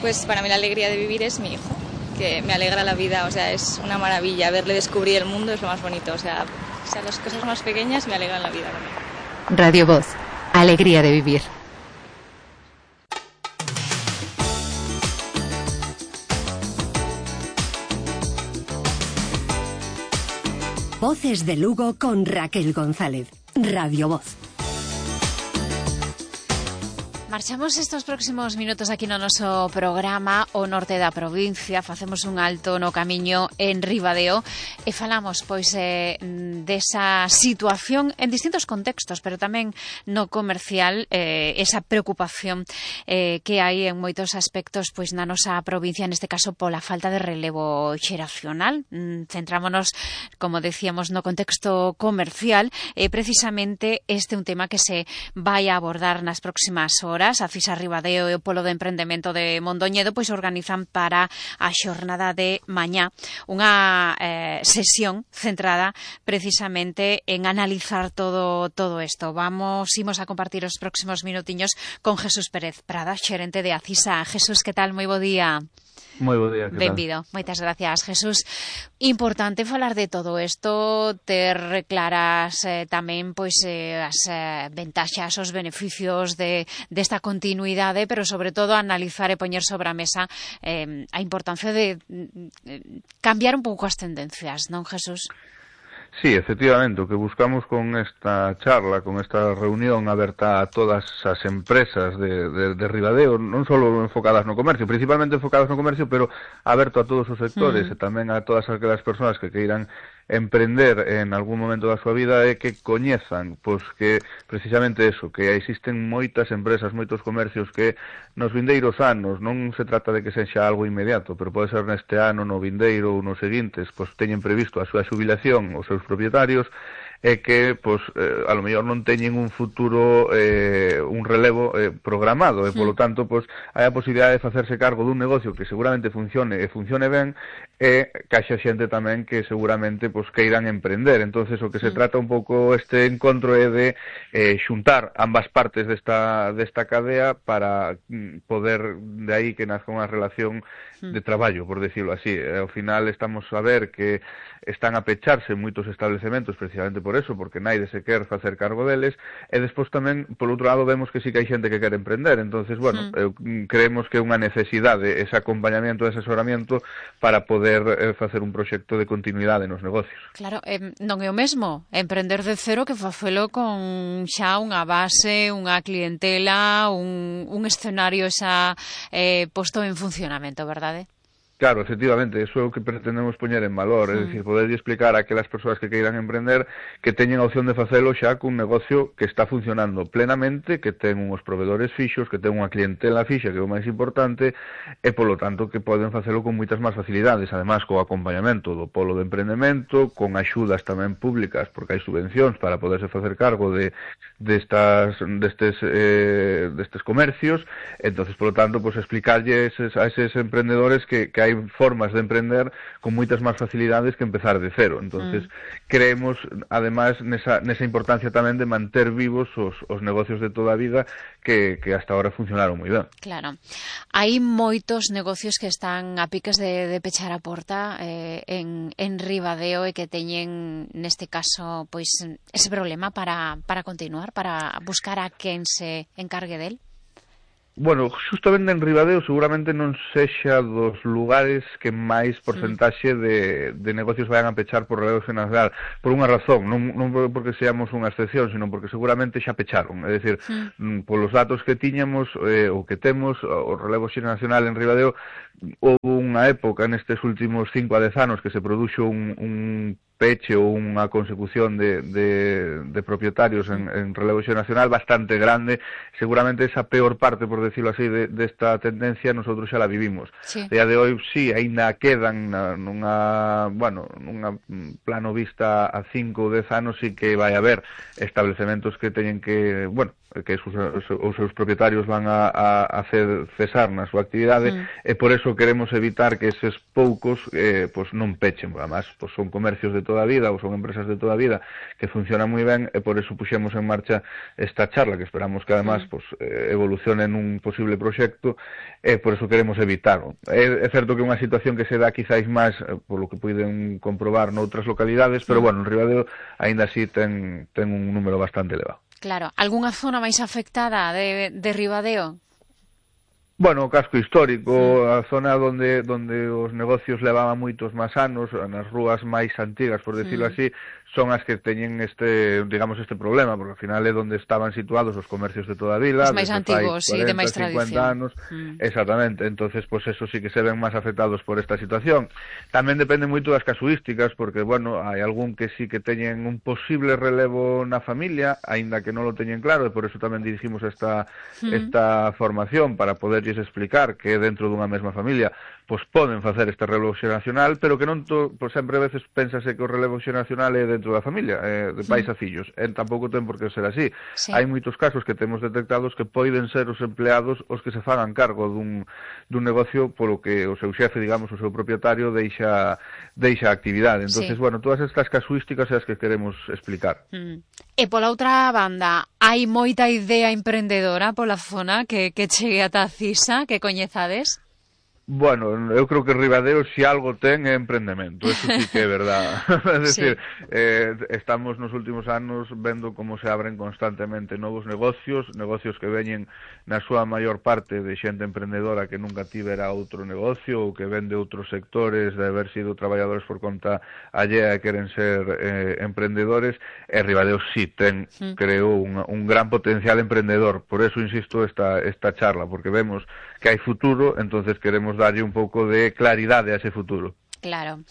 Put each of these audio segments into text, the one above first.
Pues para mí la alegría de vivir es mi hijo, que me alegra la vida, o sea, es una maravilla. Verle descubrir el mundo es lo más bonito, o sea, las cosas más pequeñas me alegran la vida también. Radio Voz, alegría de vivir. Voces de Lugo con Raquel González. Radio Voz. Marchamos estos próximos minutos aquí no noso programa o norte da provincia, facemos un alto no camiño en Ribadeo e falamos pois desa situación en distintos contextos, pero tamén no comercial, esa preocupación que hai en moitos aspectos pois na nosa provincia, neste caso pola falta de relevo xeracional. Centrámonos, como decíamos, no contexto comercial, precisamente este é un tema que se vai a abordar nas próximas horas. A FISA Ribadeo e o Polo de Emprendemento de Mondoñedo pois organizan para a xornada de mañá unha sesión centrada precisamente en analizar todo isto. Imos a compartir os próximos minutiños con Jesús Pérez Prada, xerente de ACISA. Jesús, que tal? Moi bo día. Moi bo día, que tal? Benvido, moitas gracias, Jesús. Importante falar de todo isto, ter claras tamén pois as ventaxas, os beneficios desta continuidade, pero sobre todo analizar e poñer sobre a mesa a importancia de cambiar un pouco as tendencias, non, Jesús? Sí, efectivamente, o que buscamos con esta charla, con esta reunión aberta a todas as empresas de Ribadeo, non só enfocadas no comercio, principalmente enfocadas no comercio, pero aberto a todos os sectores e tamén a todas aquelas persoas que queiran emprender en algún momento da súa vida é que coñezan, pois que precisamente eso, que existen moitas empresas, moitos comercios que nos vindeiros anos, non se trata de que sexa algo inmediato, pero pode ser neste ano, no vindeiro ou nos seguintes, pois teñen previsto a súa xubilación os seus propietarios e que, pois, a lo mellor non teñen un futuro, un relevo programado, e, polo tanto, pois, hai a posibilidade de facerse cargo dun negocio que seguramente funcione ben, e caixa xente tamén que seguramente, pois, queiran emprender. Entonces, o que se trata un pouco este encontro é de xuntar ambas partes desta cadea para poder, de aí que nazca unha relación de traballo, por decirlo así. Ao final estamos a ver que están a pecharse moitos establecementos precisamente por eso, porque naide se quer facer cargo deles, e despois tamén, por outro lado, vemos que sí que hai xente que quer emprender. Entonces, bueno, creemos que é unha necesidade ese acompañamento, ese asesoramiento para poder facer un proxecto de continuidade nos negocios. Claro, non é o mesmo emprender de cero que facelo con xa unha base, unha clientela, un escenario xa posto en funcionamento, verdade? Claro, efectivamente, eso é o que pretendemos poñer en valor, é dicir, poder explicar a aquelas persoas que queiran emprender que teñen a opción de facelo xa cun negocio que está funcionando plenamente, que ten uns provedores fixos, que ten unha clientela fixa, que é o máis importante, e polo tanto que poden facelo con moitas máis facilidades, además co acompañamento do Polo de Emprendemento, con axudas tamén públicas, porque hai subvencións para poderse facer cargo destes comercios. Entonces, polo tanto, pues explicarlle a eses emprendedores que hai formas de emprender con moitas máis facilidades que empezar de cero. Entonces, creemos, además, nesa importancia tamén de manter vivos os negocios de toda a vida que hasta ahora funcionaron moi ben. Claro. Hai moitos negocios que están a piques de pechar a porta en Ribadeo e que teñen, neste caso, pois ese problema para continuar, para buscar a quen se encargue del. Bueno, justamente en Ribadeo seguramente non sexa dos lugares que máis porcentaxe de negocios vayan a pechar por relevo xeracional, por unha razón, non porque seamos unha excepción, sino porque seguramente xa pecharon, é dicir, polos datos que tiñamos ou que temos, o relevo xeracional en Ribadeo, houve unha época nestes últimos 5 a 10 anos que se produxo un peche ou unha consecución de propietarios en relevo xeracional bastante grande. Seguramente esa peor parte, por decirlo así, desta tendencia nosotros xa la vivimos. Sí. Día de hoy, sí, aínda quedan nunha plano vista a 5 ou 10 anos, sí que vai haber establecementos que teñen que, bueno, que os seus propietarios van a hacer cesar na súa actividade, e por eso queremos evitar que eses poucos pois non pechen. Además, pois son comercios de toda a vida ou son empresas de toda a vida que funcionan moi ben, e por eso puxemos en marcha esta charla, que esperamos que además pois evolucione nun posible proxecto, e por eso queremos evitarlo. É certo que é unha situación que se dá quizáis máis polo que poden comprobar noutras localidades, pero bueno, en Ribadeo aínda así ten un número bastante elevado. Claro, algunha zona máis afectada de Ribadeo? Bueno, o casco histórico, a zona onde os negocios levaban moitos máis anos, nas rúas máis antigas, por decirlo así, son as que teñen este problema, porque ao final é onde estaban situados os comercios de toda a vila, os máis antigos, 40, de máis tradición. 50 anos, exactamente, entonces pues eso sí que se ven máis afectados por esta situación. Tamén depende moito das casuísticas, porque, bueno, hai algún que sí que teñen un posible relevo na familia, aínda que non lo teñen claro, e por eso tamén dirigimos esta formación, para poderlles explicar que dentro dunha mesma familia pois poden facer este relevo xeracional, pero que non sempre a veces pénsase que o relevo xeracional é dentro da familia, de pais a fillos, tampouco ten por que ser así. Sí. Hai moitos casos que temos detectados que poden ser os empleados os que se fagan cargo dun negocio polo que o seu xefe, digamos, o seu propietario deixa a actividade. Entonces, bueno, todas estas casuísticas é as que queremos explicar. E pola outra banda, hai moita idea emprendedora pola zona que chegue ata a CISA, que coñezades? Bueno, eu creo que Ribadeo si algo ten é emprendemento, eso sí que é verdad. É dicir, estamos nos últimos anos vendo como se abren constantemente novos negocios que veñen na súa maior parte de xente emprendedora que nunca tivera outro negocio ou que vende outros sectores de haber sido traballadores por conta allea e queren ser emprendedores, e Ribadeo sí ten, creo, un gran potencial emprendedor. Por eso insisto esta charla, porque vemos que hai futuro, entonces queremos darlle un pouco de claridade a ese futuro. Claro.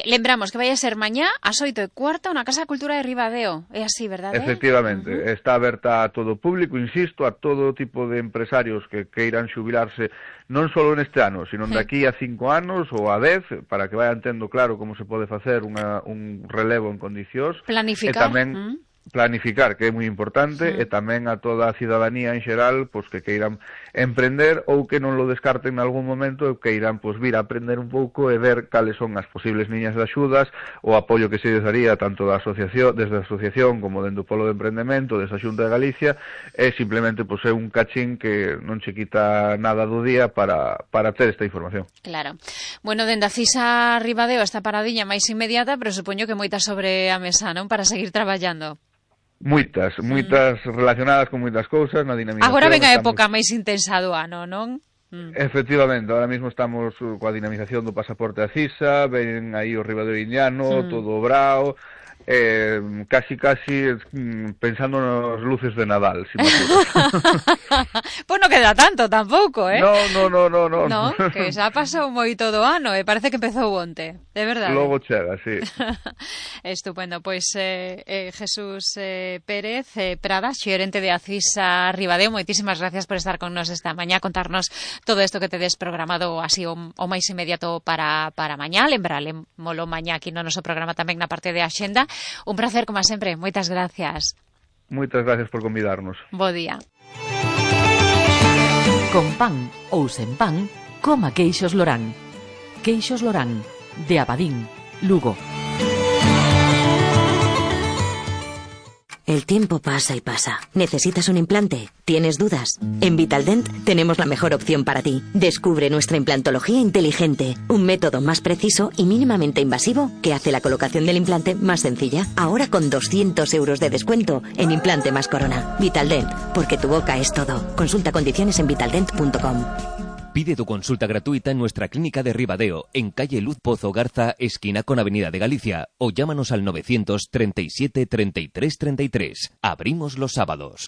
Lembramos que vai a ser mañá ás 8:15 na Casa de Cultura de Ribadeo. É así, verdade? Efectivamente. Está aberta a todo o público, insisto, a todo tipo de empresarios que queiran xubilarse non só neste ano, sino de aquí a 5 anos ou a 10, para que vayan tendo claro como se pode facer un relevo en condicións. Planificar. E tamén planificar, que é moi importante, e tamén a toda a cidadanía en xeral, pois que queiran emprender ou que non lo descarten en algún momento e queiran pois vir a aprender un pouco e ver cales son as posibles liñas de axudas, o apoio que se les daría tanto da asociación, desde a asociación como dentro do Polo de Emprendemento, desa Xunta de Galicia, e simplemente pois é un cachín que non che quita nada do día para ter esta información. Claro. Bueno, dende a CISA Ribadeo esta paradiña máis inmediata, pero supoño que moitas sobre a mesa, non? Para seguir traballando. Moitas relacionadas con moitas cousas na dinamización. Agora ven a época máis intensa do ano, non? Efectivamente, ahora mismo estamos coa dinamización do pasaporte a CISA, ven aí o Ribadeo Indiano, todo o brao, casi pensando nas luces de Nadal, si me Pois non queda tanto tampouco, No. No, que xa pasou moito do ano e parece que empezou onte, de verdade. Logo chega, sí. Estupendo, pois Jesús Pérez Prada, xerente de ACISA Ribadeo, moitísimas gracias por estar con nos esta mañá, contarnos todo isto que tedes programado así o máis inmediato para mañá, lembraremolo mañá aquí no noso programa tamén na parte de Axenda. Un placer, como sempre. Moitas gracias. Moitas gracias por convidarnos. Bo día. Con pan ou sen pan, coma queixos Lorán. Queixos Lorán, de Abadín, Lugo. El tiempo pasa y pasa. ¿Necesitas un implante? ¿Tienes dudas? En Vitaldent tenemos la mejor opción para ti. Descubre nuestra implantología inteligente, un método más preciso y mínimamente invasivo que hace la colocación del implante más sencilla. Ahora con 200 euros de descuento en implante más corona. Vitaldent, porque tu boca es todo. Consulta condiciones en vitaldent.com. Pide tu consulta gratuita en nuestra clínica de Ribadeo, en calle Luz Pozo Garza, esquina con Avenida de Galicia, o llámanos al 937 33 33. Abrimos los sábados.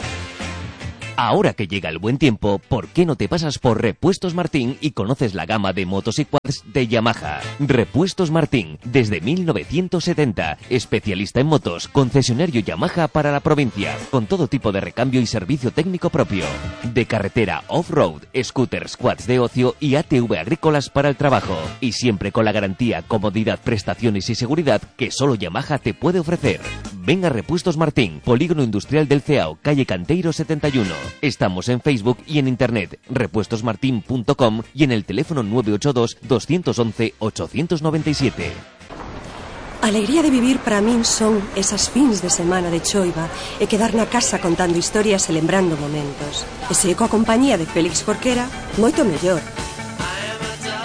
Ahora que llega el buen tiempo, ¿por qué no te pasas por Repuestos Martín y conoces la gama de motos y quads de Yamaha? Repuestos Martín, desde 1970, especialista en motos, concesionario Yamaha para la provincia, con todo tipo de recambio y servicio técnico propio. De carretera, off-road, scooters, quads de ocio y ATV agrícolas para el trabajo. Y siempre con la garantía, comodidad, prestaciones y seguridad que solo Yamaha te puede ofrecer. Ven a Repuestos Martín, Polígono Industrial del Ceao, calle Canteiro 71. Estamos en Facebook y en internet, repuestosmartin.com y en el teléfono 982 211 897. A alegría de vivir para min son esas fins de semana de choiva e quedar na casa contando historias e lembrando momentos. E se coa compañía de Félix Jorquera, moito mellor.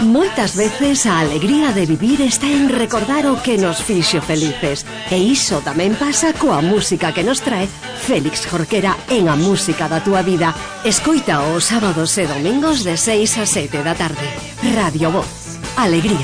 Moitas veces a alegría de vivir está en recordar o que nos fixo felices. E iso tamén pasa coa música que nos trae Félix Jorquera en A Música da Túa Vida. Escoita os sábados e domingos de 6 a 7 da tarde. Radio Voz. Alegría